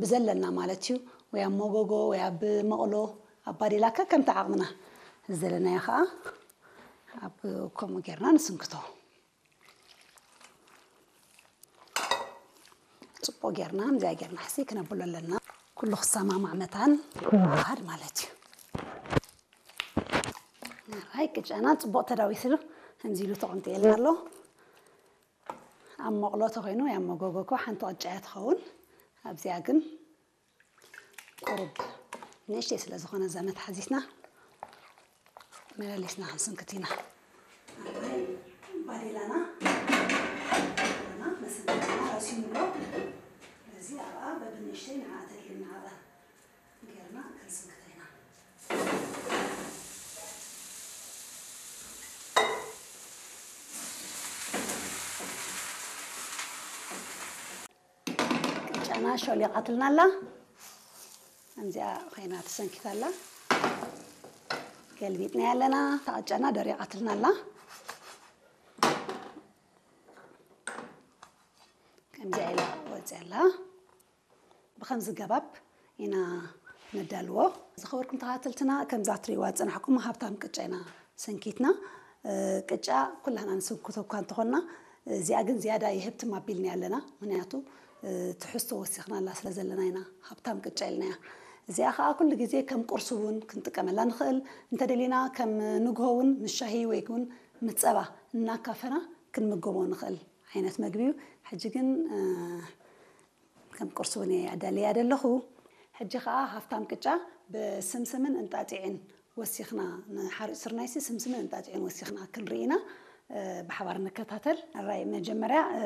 ብዘለና ማለት እዩ፣ ወይ ኣብ መጎጎ ወይ ኣብ መቕሎ ኣብ ባዴላ ከከምቲ ዓቕምና፣ ዝደለናዮ ከዓ ኣብ ከምኡ ጌርና ንስንክቶ። ጽቡቕ ጌርና፣ ከምዚኣ ጌርና ሕሲ ክነብሎ ኣለና። ኩሉ ክሰማማዕ መታን ክወሃድ ማለት እዩ። ኣይ ቅጫና ጽቡቕ ተዳዊስሉ፣ ከምዚ ኢሉ ተቐምጡ የልና ኣሎ። ኣብ መቕሎ ተኾይኑ ወይ ኣብ መጎጎ እኮ ሓንቲ ቅጫ እያ ትኸውን። ኣብዚኣ ግን ቁሩብ ንእሽተይ ስለ ዝኾነ እዛ መትሓዚትና መለሊስና ክንስንክት ኢና። ባዴላና መሰንከትና ራሲኑ ኣሎ። ስለዚ ኣብኣ በብንእሽተይ ንዓ ተድልየና ኣብኣ ጌርና ክንስንክታ ኢና። ቅጫና ሾሊቓትልና ኣላ። ከምዚኣ ኮይና ተሰንኪታ ኣላ። ገልቢጥና ኣለና። እታ ቅጫና ደሪቓትልና ኣላ። ከምዚኣ ኢላ ወፂኣ ኣላ። ብኸምዚ ገባብ ኢና ነዳልዎ። ዝኸበርኩም ተኸታተልትና፣ ከምዛ ትርእይዋ ዝጸናሕኩም ሃብታም ቅጫ ኢና ሰንኪትና። እ፣ ቅጫ ኩላህና ንስንክቶ እኳ እንተኾንና፣ እዚኣ ግን ዝያዳ ይህብትም ኣቢልና ኣለና። ምኽንያቱ፣ እ፣ ትሕዝቶ ወሲኽናላ ስለ ዘለና ኢና ሃብታም ቅጫ ኢልናያ። እዚኣ ኸኣ ኩሉ ግዜ ከም ቁርሲ እውን ክንጥቀመላ ንኽእል። እንተደሊና ከም ንግሆ እውን ምስ ሻሂ ወይ እውን ምስ ጸባ እናካፈና ክንምገቦ ንኽእል ዓይነት መግቢ እዩ። ሕጂ ግን፣ እ፣ ከም ቁርሲ እውን እየ ኣዳልያ ዘለኹ። ሕጂ ኸኣ ሃፍታም ቅጫ ብስምስምን እንጣጢዕን ወሲኽና፣ ንሓርጭ ስርናይሲ ስምስምን እንጣጢዕን ወሲኽና ክንርኢ ኢና። እ፣ ብሓባር ንከታተል። ኣራይ መጀመርያ፣ እ፣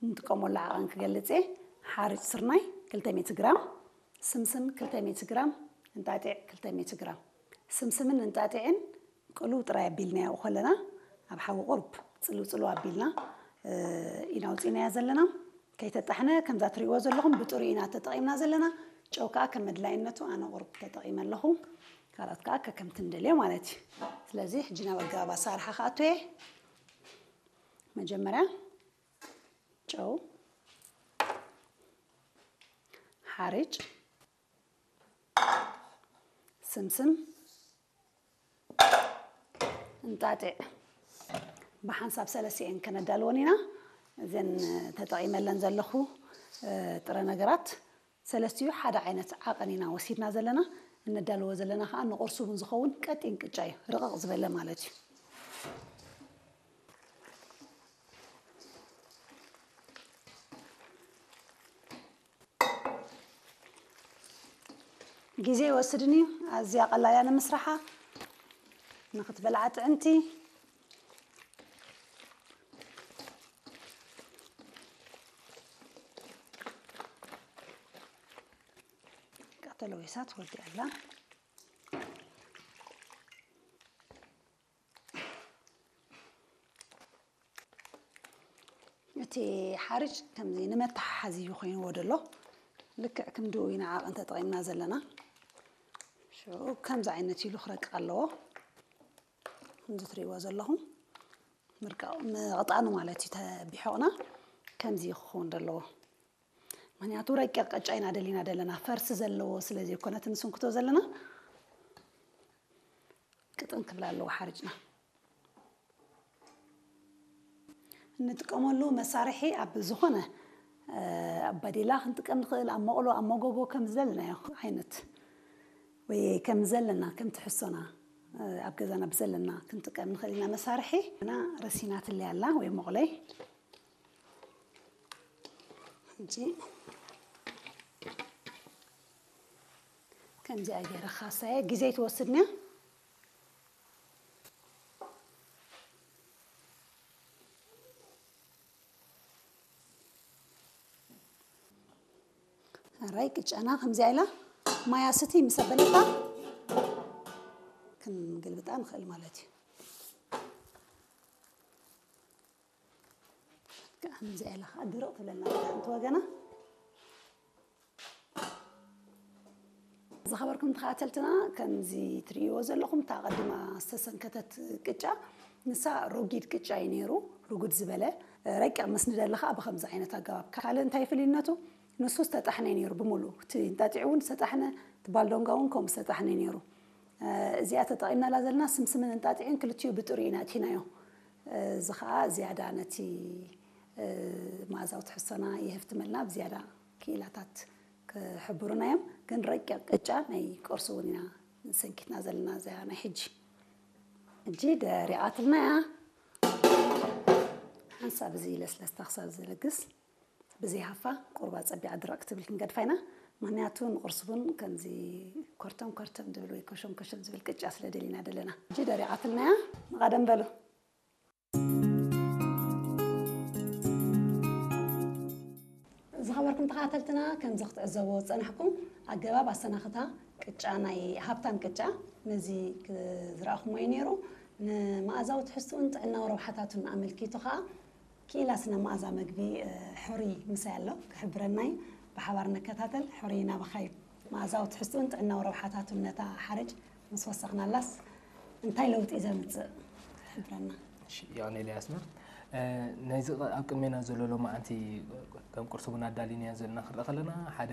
ንጥቀመሉ ዓቐን ክገልጽ እየ። ሓርጭ ስርናይ ክልተ ሚእቲ ግራም፣ ስምስም ክልተ ሚእቲ ግራም፣ እንጣጢዕ ክልተ ሚእቲ ግራም። ስምስምን እንጣጢዕን ቅልው ጥራይ ኣቢልናዮ ከለና ኣብ ሓዊ ቁርብ ጽልው ጽልው ኣቢልና፣ እ፣ ኢና ኣውጺእናዮ ዘለና። ከይተጣሕነ ከምዛ ትርእይዎ ዘለኹም ብጥሩ ኢና ተጠቒምና ዘለና። ጨው ከኣ ከም መድላይነቱ ኣነ ቁርብ ተጠቒመ ኣለኹ። ካልኦት ከኣ ከከምቲ ንደልዮ ማለት እዩ። ስለዚ ሕጂ ናብ ኣገባብ ኣሰራርሓ ክኣቱ እየ። መጀመርያ ጨው፣ ሓርጭ፣ ስምስም፣ እንጣጢዕ ብሓንሳብ ሰለስቲኤን ከነዳልወን ኢና። እዘን ተጠቒመለን ዘለኹ፣ እ፣ ጥረ ነገራት ሰለስቲኡ ሓደ ዓይነት ዓቐን ኢና ወሲድና ዘለና። እነዳልዎ ዘለና ኸዓ ንቁርሲ እውን ዝኸውን ቀጢን ቅጫ እዩ፣ ርቕቕ ዝበለ ማለት እዩ። ግዜ ይወስድን እዩ። ኣዝያ ቀላል እያ ንምስራሓ። ንኽትበልዓ ጥዕምቲ። ተለዊሳ ትወዲ ኣላ። እቲ ሓርጭ ከምዚ ንመተሓሓዚ እዩ ኮይንዎ ዘሎ። ልክዕ ክንድኡ ኢና ዓቐን ተጠቒምና ዘለና። ሽዑ ከምዚ ዓይነት ኢሉ ክረቅቕ ኣለዎ። ከምዚ ትርእይዎ ዘለኹም ምርቃ-፣ ምቕጣኑ ማለት እዩ። ተቢሖቕና ከምዚ እዩ ክኸውን ዘለዎ። ምኽንያቱ ረቂቕ ቅጫ ኢና ደሊና ዘለና፣ ፈርሲ ዘለዎ ስለ ዘይኮነ እቲ ንስንክቶ ዘለና ቅጥን ክብል ኣለዎ ሓርጭና። እንጥቀመሉ መሳርሒ ኣብ ዝኾነ፣ እ፣ ኣብ ባዴላ ክንጥቀም ንኽእል፣ ኣብ መቕሎ፣ ኣብ መጎጎ ከም ዝደለናዮ ዓይነት ወይ ከም ዘለና፣ ከም ትሕዝቶና፣ እ፣ ኣብ ገዛና ብዘለና ክንጥቀም ንኽእል ኢና መሳርሒ። እና ረሲናትለይ ኣላ ወይ መቑለይ። ሕጂ ከምዚኣ ገይረ ክኻሳየ ግዜ ትወስድንያ። ኣራይ ቅጫና ከምዚኣ ኢላ ማያ ስቲ ምስ ኣበለታ ክንግልብጣ ንኽእል ማለት እዩ። ከምዚኣ ኢላ ከዓ ድርቕ ትብለና ሓንቲ ወገና። ዝኸበርኩም ተኸታተልትና፣ ከምዚ ትርእይዎ ዘለኹም፣ እታ ቀዲማ ዝተሰንከተት ቅጫ፣ ንሳ ሮጊድ ቅጫ እዩ ነይሩ፣ ርጉድ ዝበለ። ረቂቕ ምስ ንደሊ ከዓ ብኸምዚ ዓይነት ኣገባብ። ካልእ እንታይ ፍልይነቱ? ንሱ ዝተጣሕነ ነይሩ ብምሉእ። እቲ እንጣጢዑ እውን ዝተጣሕነ፣ እቲ ባልዶንጋ እውን ከምኡ ዝተጣሕነ ነይሩ። እ፣ እዚኣ ተጠቒምናላ ዘለና ስምስምን እንጣጢዕን ክልቲኡ ብጥሪኡ ኢና ኣእቲናዮ። እ፣ እዚ ኸዓ ዝያዳ ነቲ፣ እ፣ መኣዛዊ ትሕዝቶና የህፍትመልና፣ ብዝያዳ ክኢላታት ክሕብሩና እዮም። ግን ረቂቕ ቅጫ ናይ ቁርሲ እውን ኢና ሰንኪትና ዘለና እዚኣ ናይ ሕጂ። ሕጂ ደሪቓትልና እያ። ሓንሳብ እዚ ለስለስታ ክሳብ ዝልግስ ብዘይ ሃፋ ቁርባ ጸቢዓ ድርቕ ክትብል ክንገድፋ ኢና። ምኽንያቱ ንቁርሲ ቡን ከምዚ ኮርተም ኮርተም ዝብል ወይ ኮሸም ኮሸም ዝብል ቅጫ ስለ ደሊና ደለና። ሕጂ ደሪቓትልና እያ። ንቐደም በሉ። ዝኸበርኩም ተኸታተልትና፣ ከምዚ ክትዕዘብዎ ዝጸናሕኩም ኣገባብ ኣሰናኽታ ቅጫ፣ ናይ ሃብታም ቅጫ፣ ነዚ ክ-፣ ዝረኣኹምዎ እዩ ነይሩ። ንመኣዛዊ ትሕዝትኡን ጥዕናዊ ረብሓታቱን ኣመልኪቱ ኸኣ ክኢላ ስነ መኣዛ መግቢ፣ እ፣ ሕሩይ ምሳይ ኣሎ፣ ክሕብረና እዩ። ብሓባር ንከታተል። ሕሩይ ናባኻ እዩ። መኣዛዊ ትሕዝትኡን ጥዕናዊ ረብሓታቱን ነታ ሓርጭ ምስ ወሰኽናላስ እንታይ ለውጢ ዘምጽእ ክሕብረና። እሺ፣ ዮሃና ኤልያስና፣ እ፣ ናይዚ ቐ-፣ ኣብ ቅድሜና ዘሎ ሎማዓንቲ ከም ቁርሲ ቡን ኣዳሊናዮ ዘለና ክርኢ ከለና፣ ሓደ